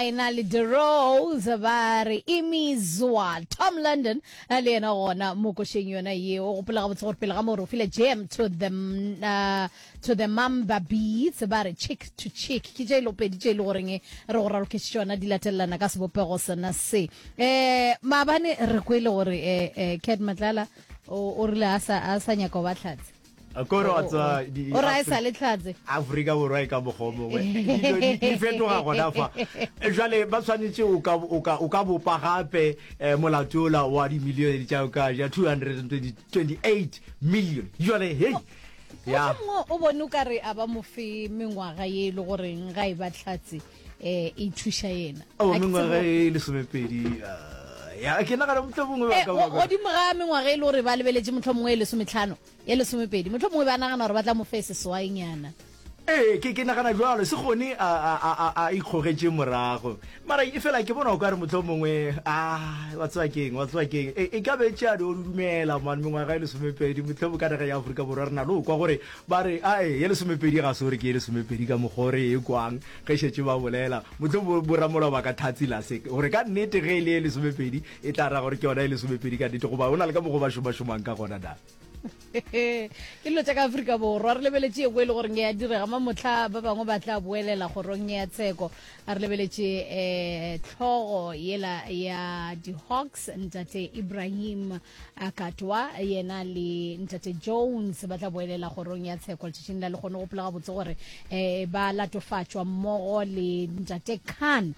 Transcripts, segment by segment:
ena le The Rose ba re Imizwa Tom London eh, le yena gona mo košeng yona yeo. O gopola gabotse gore pele ga moo re o file Jam to the uh, to the Mamba Beats ba re Chick to Chick. Ke tše e lopedi tše e le goreng re go raloketše tšona di latelelana ka sebopego sona se. Eh maabane re kwele gore eh, eh Cat Matlala o o rile a sa a sa nyaka go ba hlatse. Kore wa tseba o ra e sa le tlhatse. Afrika Borwa e ka mokgwa o mongwe dilo di fetoga gona fa. Jwale ba tshwanetse o ka o ka o ka bopa gape eh, molato ola wa dimilione tša ka ja 228 million. Jwale hey ya mongwe o bone o ka re a ba mo fe mengwaga ye e le goreng ga e ba tlhatse eh e thuša yena. O mengwaga e lesomepedi ah, ya ke nagana mohlomongwe ba eh, ka godimo ga mengwaga e le gore ba lebeletše mohlomongwe e lesometlhano Ye lesomepedi. Mohlomongwe ba nagana gore ba tla mo fe seswainyana. Ee, ke, ke nagana bjalo. Se kgone a, a, a, a, a ikgogetše morago. Mara efela ke bona o ka re mohlomongwe, ah, wa tseba keng, wa tseba keng, e, e ka be tšea di o dumela, man, mengwaga e lesomepedi, mohlomongwe ka nageng ya Afrika Borwa re na le go kwa gore ba re, ae, ye lesomepedi ga se gore ke ye lesomepedi ka mokgwa o re e kwang ge šetše ba bolela. Mohlomongwe boramolao ba ka thatsila se, gore ka nnete ge e le ye lesomepedi, e tla ra gore ke yona ye lesomepedi ka nnete, goba go na le ka mokgwa ba šomašomang ka gona na. Ke dilo tša ka Afrika Borwa. Re lebeletše ye nngwe e le goreng e a direga mamohla, ba bangwe ba tla boelela kgorong ya tsheko. A re lebeletše um tlhogo yela ya di-Hawks, Ntate Ibrahim Katwa, yena le Ntate Jones ba tla boelela kgorong ya tsheko letšatšing la lekgono. Gopola gabotse gore um ba latofatšwa mmogo le Ntate Khan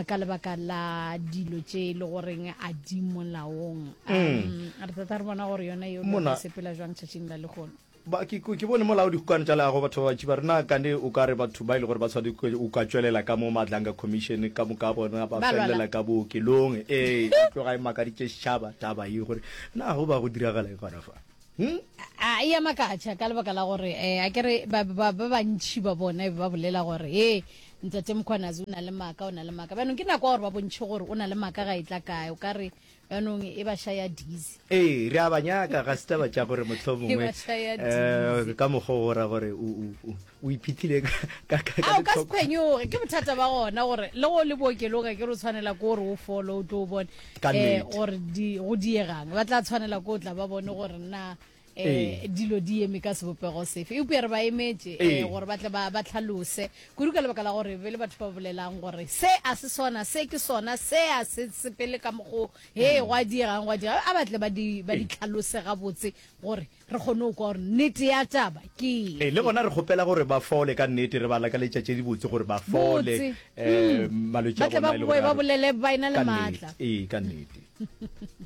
ka lebaka la dilo tše e le goreng a di molaong. Um, re tata re bona gore yona yeo Mona- e sepela jwang tšatšing la lehono. Ba, ke, ke bone molao dikgokano tša leago batho ba bantši ba re na kane o ka re batho ba e le gore ba tshwanetse o ka tšwelela ka mo Madlanga Commission ka moka bona ba Ba lwala. felela ka bookelong ee e tloga e makaditše setšhaba taba ye gore na go ba go diragala eng gona fa hmm? A e a makatša ka lebaka la gore um a kere ba ba ba bantši ba bona e be ba bolela gore he ntate Mkhwanazi o na le maaka o na le maaka bjanong ke nako ya gore ba bontšhe gore o na le maaka ga e tla kae o ka re Bjanong e ba šaya dizzy. Ee, re a ba nyaka, ga se taba tša gore mohlomongwe E ba šaya eh, dizzy. ka mokgwa o ra gore o, o, o, o iphihlile ka, ka, ka, ka A o ka se letlhoko. phwenyoge, ke bothata ba gona gore le go le bookelong a ke re o tshwanela ke gore o fole o tlo o bone Ka um nnete. gore di, go diegang. Ba tla tshwanela ke o tla ba bone gore na Ee. um dilo di eme ka sebopego sefe. Eupša re ba emetše Ee. um gore ba tle ba, ba hlalose kudu ka lebaka la gore be le batho ba bolelang gore se a se sona, se ke sona, se a se sepele ka mokgo, hee go a diegang, go a diega. A ba tle ba di, ba di Ee. hlalose gabotse gore re kgone go kwa gore nnete ya taba ke Ee, le efe. gona re kgopela gore ba fole ka nnete, re ba lakaletša tše dibotse gore ba fole Botse. um Mm. malwetši Ba a tle bona ba e le boe gore ba a re bolele ba ena le ka maatla. nnete. Ee, ka nnete.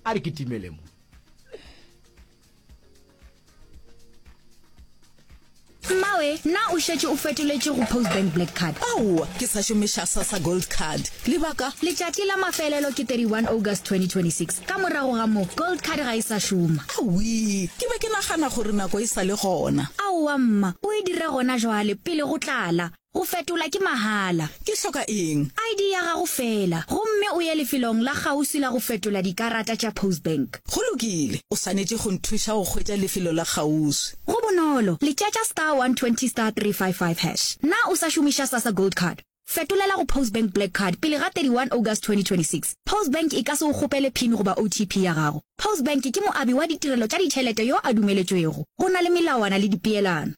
A re kitimele mo. Mmawe, na o šetše o fetoletše go Postbank Black Card? Aowa, ke sa šomiša Sassa Gold Card. Lebaka? Letšatši la mafelelo ke 31 August 2026. Ka morago ga moo, Gold Card ga e sa šoma. Awii, ke be ke nagana gore nako e sa le gona. Aowa mma, o e dire gona jwale, pele go tlala. Go fetola ke mahala. Ke hloka eng? ID ya gago feela, gomme o ye lefelong la kgauswi la go fetola dikarata tša Postbank. Go lokile, o swanetše go nthuša go hwetša lefelo la kgauswi. Go bonolo, letšetša star 120 star 355 hash. Na o sa šomiša Sassa Gold Card? Fetolela go Postbank Black Card pele ga 31 August 2026. Postbank e ka se o kgopele pin goba OTP ya gago. Postbank ke moabi wa ditirelo tša ditšhelete yo a dumeletšwego. Go na le melawana le dipeelano.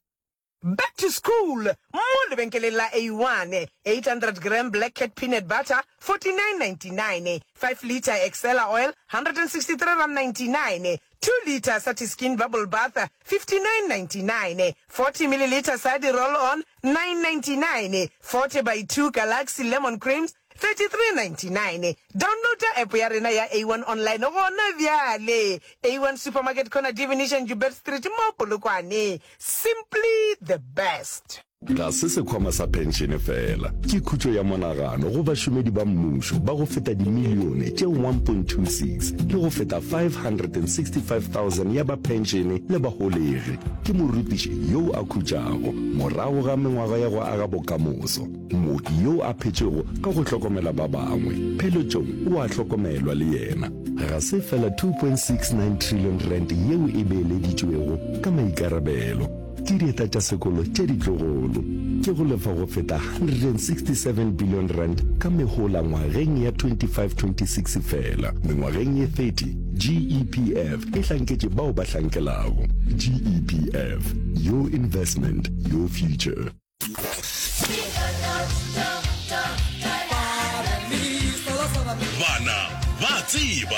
Back to school mo lebenkeleng la A1, 800 gram Black Cat peanut butter, 49.99, 5 litre Excella oil, R163.99, 2 litre Satiskin bubble bath, 59.99, 40 millilitre Sadi roll on, 9.99, 40 by 2 Galaxy lemon creams, 33.99. Downloada app ya rena ya A1 Online gona bjale. A1 Supermarket Corner Divination Joubert Street mo Polokwane. Simply the best. Ga se sekhwama sa phenšene feela, ke khutšo ya monagano go bašomedi ba mmušo ba go feta dimilione tše 1.26 le go feta 565,000 ya ba phenšene le baholegi. Ke morutiši yo a khutšago morago ga mengwaga ya go aga bokamoso. Mooki yo a phetšego ka go hlokomela ba bangwe, pheletšong o a hlokomelwa le yena. Ga se feela R2.69 trillion yeo e beeleditšwego ka maikarabelo. Ke dieta tša sekolo tša ditlogolo. Ke go lefa go feta R167 billion ka mehola ngwageng ya 25-26 feela. Mengwageng ye 30, GEPF e hlanketše bao ba hlankelago. GEPF, your investment, your future. Bana ba tseba.